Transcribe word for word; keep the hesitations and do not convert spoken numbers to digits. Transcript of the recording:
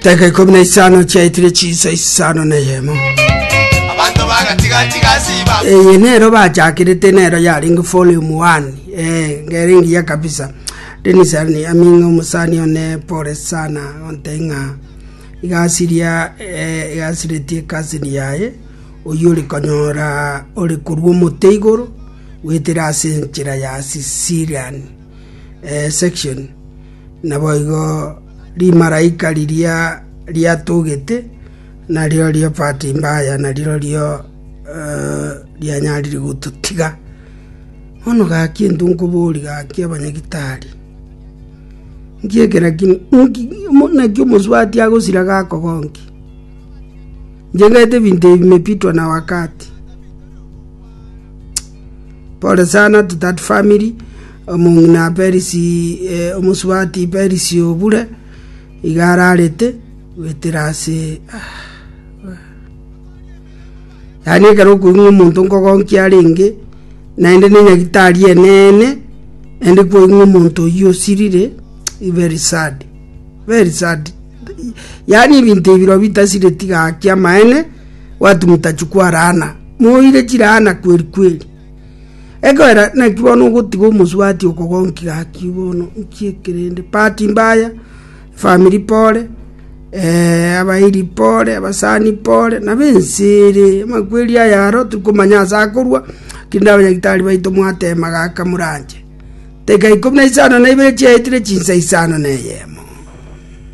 Dakika ikomi na isano chiaetire chinsa isano na eyemo. Abanto bagatigatiga siba. Eye nero bachakirete nero yaringe volume one, eh, ngere ngiya kabisa. Denis ani aminga omusani one, pole sana. Onte ng'a igasiria, eh, igasiretie cousin yaye oyio ori konyora ori korwa omote igoro gwetera ase enchera ya Sicilian, eh, section. Naboigo rimaraika riria riatogete nario rio bahati mbaya nario eh, rianyarire gototiga. Bono gaki intwe nkobori gaki abanyagitari nki ekera kini nki- mo- naki omosubati agosira gakogonki. Inche ngaete ebinto ebi bimepitwa na wakati. Pole sana to that family. Omong'ina Peris, eh, omosubati Peris Obure iga ararete gwetera ase ah, yaani ekero okoigwa omonto nkogonkia arenge naende na enyagitari enene naende koigwa omonto oyio osirire, very sad, very sad. Yaani ebinto ebi biro bitasireti gaki amaene watu mtachukua laana, moire chilaana kweli kweli. Ekero naki bono ogotiga omosubati okogonki gaki bono nki ekerende. Bahati mbaya, family pole, eh, abairi pole, abasani pole, nabo ense ere amakweri aya aro tirikomanya ase akorwa. Kinde abanyagitari baito mwatema gaka moranche. Dakika ikomi na isano na ibere chiaetire chinsa isano na eyemo.